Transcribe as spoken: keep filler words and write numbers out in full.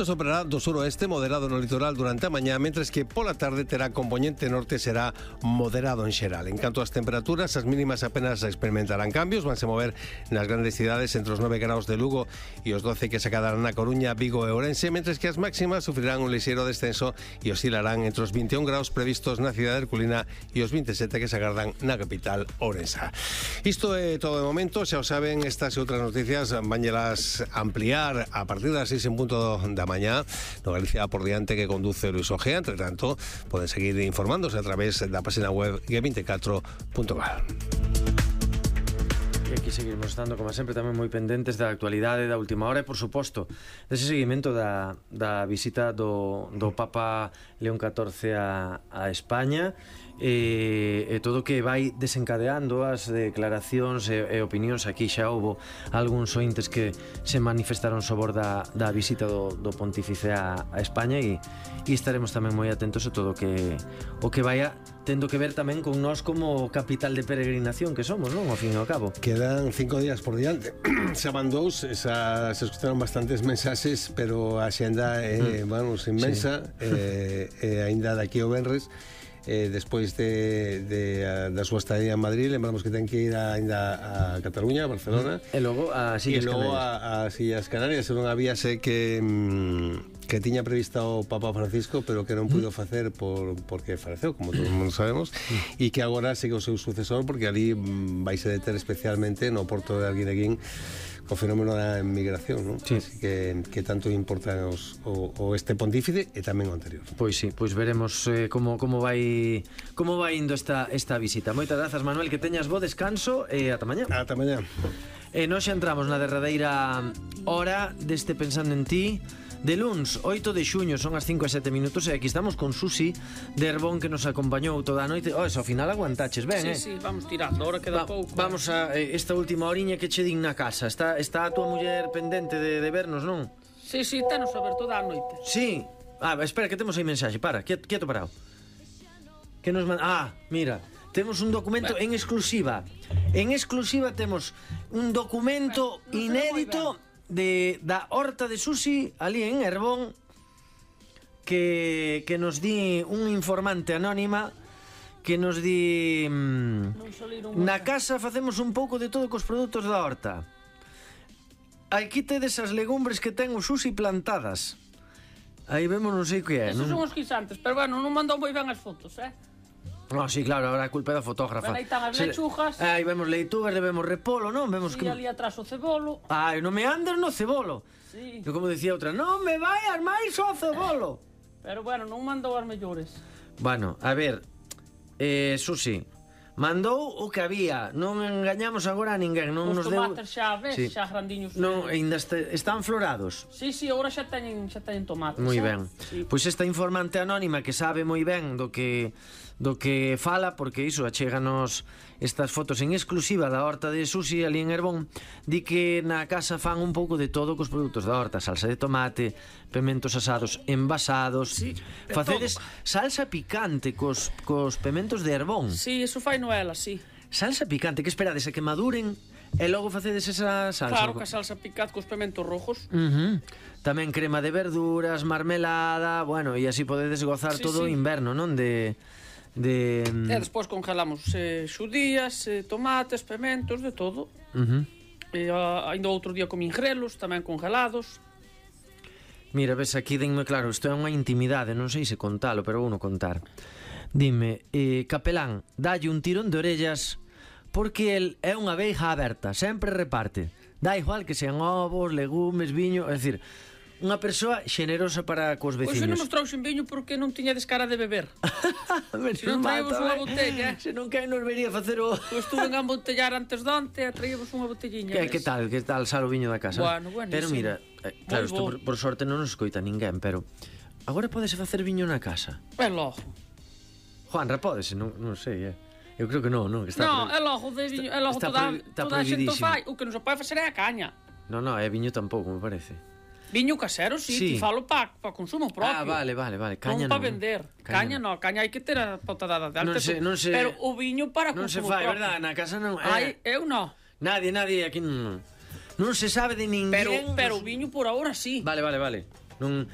Soprará do suroeste moderado no litoral durante a mañá, mentres que pola tarde terá compoñente norte, será moderado en xeral. En canto ás temperaturas, as mínimas apenas experimentarán cambios, vanse mover nas grandes cidades entre os nove graus de Lugo e os doce que se acadarán na Coruña, Vigo e Ourense, mentres que as máximas sufrirán un lixeiro descenso e oscilarán entre os vinte e un graus previstos na cidade herculina e os vinte e sete que se agardan na capital ourensa. Isto é todo de momento, xa o saben, estas e outras noticias vanllelas ampliar a partir das seis en punto da mañá no Galicia por diante que conduce Luis Ojea. Entre tanto, poden seguir informándose a través da página web G veinticuatro punto gal. E aquí seguimos estando, como sempre, tamén moi pendentes da actualidade da última hora e, por suposto, dese seguimento da, da visita do, do Papa León catorce a, a España e, e todo o que vai desencadeando as declaracións e, e opinións. Aquí xa houbo algúns ointes que se manifestaron sobre da, da visita do, do Pontífice a, a España e, e estaremos tamén moi atentos a todo o que, o que vaya tendo que ver tamén con nós como capital de peregrinación que somos, non? Ao fin e ao cabo. Quedan cinco días por diante. Se van dous, esa, se escutaron bastantes mensaxes, pero a xenda é, mm. vamos, inmensa. Sí. eh, eh, ainda daqui ao venres, eh, despois de, de, a, da súa estadía en Madrid, lembramos que ten que ir a, ainda a Cataluña, a Barcelona. E logo a Sillas e logo Canarias. a, a Sillas Canarias. Non había sé que... Mm, que tiña previsto o Papa Francisco, pero que non puido facer por, porque faleceu, como todo o mundo sabemos, e que agora sigue o seu sucesor, porque ali vai se deter especialmente no porto de Arguineguín co fenómeno da emigración, non? Sí. Así que, que tanto importa os, o, o este pontífice e tamén o anterior. Pois sí, pois veremos eh, como, como vai como vai indo esta, esta visita. Moitas grazas, Manuel, que teñas bo descanso e ata mañá. Ata mañá. E nós xa entramos na derradeira hora deste Pensando en Ti de luns, oito de xuño, son as cinco e sete minutos e aquí estamos con Susi de Herbón, que nos acompañou toda a noite. Oh, eso, ao final aguantaches ben, sí, eh? Sí, sí, vamos tirando, ahora queda Va, pouco. Vamos a eh, esta última horiña que che din na casa. Está, está a tua muller pendente de, de vernos, non? Sí, sí, tenos a ver toda a noite. Sí. Ah, espera, que temos aí mensaxe. Para, quieto, quieto parado. Que nos man... Ah, mira, temos un documento ben. en exclusiva. En exclusiva temos un documento ben, inédito de da horta de Susi ali en Herbón que, que nos di un informante anónima que nos di mmm, na casa facemos un pouco de todo cos produtos da horta. Aquí tedes as legumbres que ten o Susi plantadas. Aí vemos non sei que é. Esos non? son os guisantes, pero bueno, non mandou moi ben as fotos, eh? No, sí, claro, ahora a culpa é da fotógrafa. Pero aí están as lechugas. Aí vemos leitugas, vemos repolo, non? Vemos sí, que... ali atrás o cebolo. Ai, non me andes no cebolo. Sí. Eu como decía outra, non me vayas máis ao cebolo. Pero bueno, non mandou as mellores. Bueno, a ver, eh, Susi, mandou o que había. Non engañamos agora a ninguén. Non os nos tomates deu... xa, ves, sí. xa grandiños. Non, ainda este, están florados. Sí, sí, agora xa teñen, xa teñen tomates. Moi xa? ben. Sí. Pois esta informante anónima que sabe moi ben do que do que fala, porque iso achéganos estas fotos en exclusiva da horta de Susi ali en Herbón, di que na casa fan un pouco de todo cos produtos da horta, salsa de tomate, pementos asados envasados. Sí, facedes todo. Salsa picante cos, cos pementos de Herbón. Sí, eso fai Noela, sí. Salsa picante, que esperades a que maduren e logo facedes esa salsa? Claro, que a salsa picante cos pementos rojos. Uh-huh. Tamén crema de verduras, marmelada, bueno, e así podedes gozar sí, todo o sí. inverno, non? De... de... E despois congelamos eh, xudías, eh, tomates, pementos, de todo. Uh-huh. E a, ainda outro día comín grelos, tamén congelados. Mira, ves, aquí denme claro, isto é unha intimidade, non sei se contalo, pero vou non contar. Dime, eh, capelán, dalle un tirón de orellas porque el é unha veiga aberta, sempre reparte. Dá igual que sean ovos, legumes, viño, é dicir, unha persoa xenerosa para cos veciños. Pois se non nos trouxen viño porque non tiñades cara de beber. Se non traíamos unha botella. Se non que nos vería facer o... Pois estuve a embotellar antes de onte e traíamos unha botelliña. Que, que tal, que tal sal o viño da casa? Bueno, bueno, pero sí. mira, eh, claro, isto por, por sorte non nos escoita ninguén, pero agora podese facer viño na casa? É logo. Juanra, podese, non, non sei, eh. Eu creo que non, non, que está No, pro... é logo de viño, é logo está toda, pro... está toda a xente prohibidísimo. fai. O que non se pode facer é a caña. No, no, é viño tampouco, me parece. Viño casero, sí, sí. Ti falo para pa consumo propio. Ah, vale, vale, vale. Caña non para non. vender. Caña, caña non, caña hai que ter a pautada de Non alta. se, non se... Pero o viño para non consumo se fai, propio. verdad? Na casa non... Eh. Ai, eu non. Nadie, nadie aquí non... Non se sabe de ninguén. Pero, pero o viño por ahora sí. Vale, vale, vale. Non,